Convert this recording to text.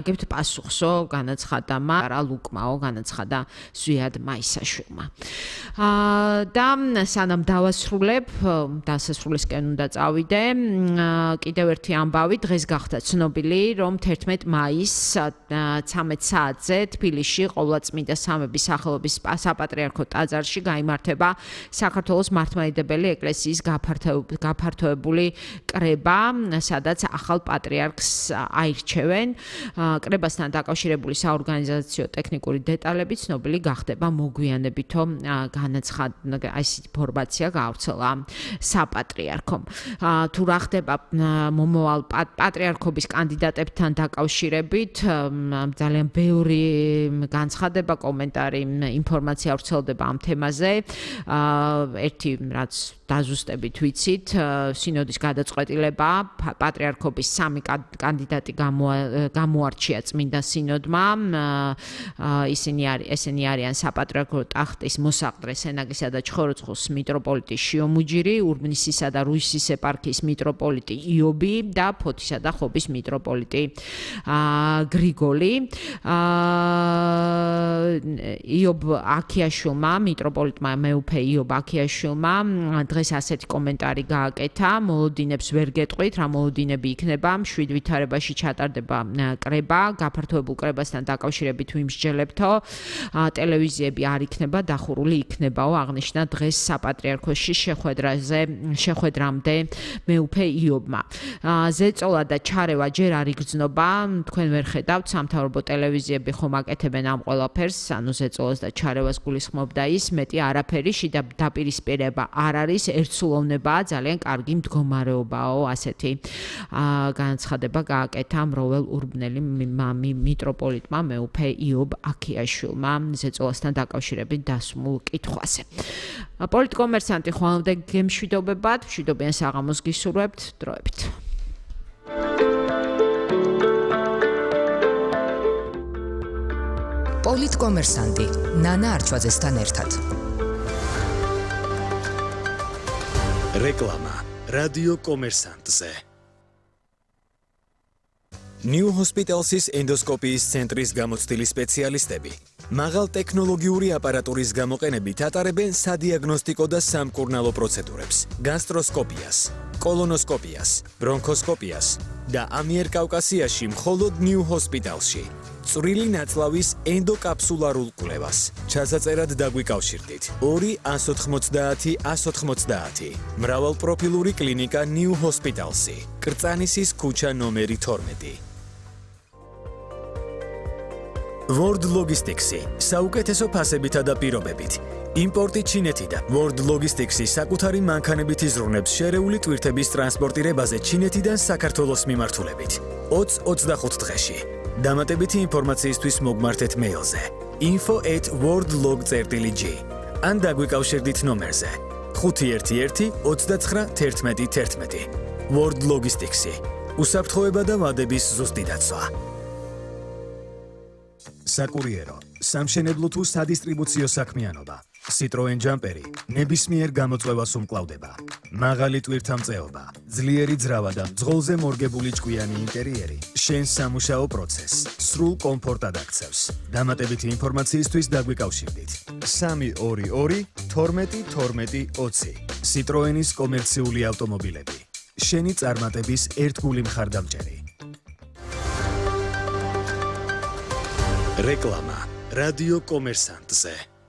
გებთ პასუხსო განაცხადა რა ლუკმაო განაცხადა ზვიად მაისაშვილმა. და სანამ დავასრულებ, დასასრულისკენ უნდა წავიდე, კიდევ ერთი ამბავი, დღეს გახდა ცნობილი, რომ 11 მაისს 13 საათზე თბილისში ყოვლადწმინდა სამების სახელობის საპატრიარქო ტაძარში გაიმართება საქართველოს მართლმადიდებელი ეკლესიის გაფართოებული კრება, სადაც ახალ პატრიარქს აირჩევენ. კრებასთან დაკავშირებული საორგანიზაციო ტექნიკური დეტალები ცნობილი გახდება მოგვიანებითო ესეთი ინფორმაცია გაავრცელა საპატრიარქომ. თუ რა ხდება მომავალ პატრიარქობის კანდიდატებთან დაკავშირებით, ძალიან ბევრი განცხადება, კომენტარი, ინფორმაცია ვრცელდება ამ თემაზე. ერთი რაც დაზუსტებით ვიცით, სინოდის გადაწყვეტილება პატრიარქობის 3 კანდიდატი გამოარჩია წმინდა სინოდმა. ესენი არიან საპატრიარქო ტახტის მოსაყდრე სენაგისა და ჩხოროწყუს მიტროპოლიტი შიომუჯირი, ურბნისისა და რუისის ეპარქიის მიტროპოლიტი იობი და ფოთისა და ხობის მიტროპოლიტი გრიგოლი. იობ აქიაშვილმა, მიტროპოლიტმა მეუფე იობ აქიაშვილმა დღეს ასეთი კომენტარი გააკეთა: მოლოდინებს ვერ გეტყვით, რა მოლოდინები იქნება, მშვიდ ვითარებაში ჩატარდება კრება, გაფართოებულ კრებასთან დაკავშირებით ვიმსჯელებთო, ტელევიზიები არ იქნება, დახურული იქნებაო, აღნიშნა დღეს საპატრიარქოში შეხვედრამდე მეუფე იობმა. ზეწოლა და ჩარევა ჯერ არ იგრძნობა, თქვენ ვერ ხედავთ, სამთავრობო ტელევიზიები ხომ აკეთებენ ამ ყველაფერს, ანუ ზეწოლას და ჩარევას გულისხმობდა ის, მეტი არაფერი, შიდა დაპირისპირება არ არის, ერთსულოვნებაა, ძალიან კარგი მდგომარეობაო, ასეთი განაცხადება გააკეთა მროვალ ურბნელი მიტროპოლიტმა მეუფე იობ აქიაშვილმა ზეწოლასთან დაკავშირებით დასმულ კითხვაზე. პოლიტკომერსანტი ხვალამდე გემშვიდობებად, მშვიდობიან საღამოს გისურვებთ, დროებით. პოლიტკომერსანტი ნანა არჩვაძესთან ერთად. რეკლამა რადიო კომერსანტზე. New Hospitals's ენდოსკოპიის ცენტრის გამოცდილი სპეციალისტები მაღალ ტექნოლოგიური აპარატურის გამოყენებით ატარებენ სადიაგნოსტიკო და სამკურნალო პროცედურებს: გასტროსკოპიას, კოლონოსკოპიას, ბრონქოსკოპიას და ამიერკავკასიაში მხოლოდ New Hospitalsში. წვრილი ნაწლავის ენდოკაფსულარულ კვლევას. ჩასაწერად დაგვიკავშირდით 2 190 190. მრავალპროფილური კლინიკა New Hospitalsი. კრწანისის ქუჩა ნომერი 12. World Logistics-ი საუკეთესო ფასებითა და პირობებით. იმპორტი ჩინეთიდან. World Logistics-ი საკუთარი მანქანებით იზრუნებს შერეული ტვირთების ტრანსპორტირებაზე ჩინეთიდან საქართველოს მიმართულებით. 20-25 დღეში. დამატებითი ინფორმაციისთვის მოგმართეთ მეილზე info@worldlog.gr ან დაგვიკავშირდით ნომერზე 511 29 11 11. World Logistics-ი. უსაფრთხოება და ვადების ზუსტი დაცვა. საკურიერო, სამშენებლო თუ სადისტრიბუციო საქმიანობა. Citroen Jumperi ნებისმიერ გამოწვევას უმკლავდება. მაღალი ტვირთამწეობა, ძლიერი ძრავა და მძღოლზე მორგებული ჭკვიანი ინტერიერი შენს სამუშაო პროცესს სრულ კომფორტად აქცევს. დამატებითი ინფორმაციისთვის დაგვიკავშირდით 322 12 12 20. Citroenis კომერციული ავტომობილები. შენი წარმატების ერთგული მხარდამჭერი. რეკლამა რადიო კომერსანტზე.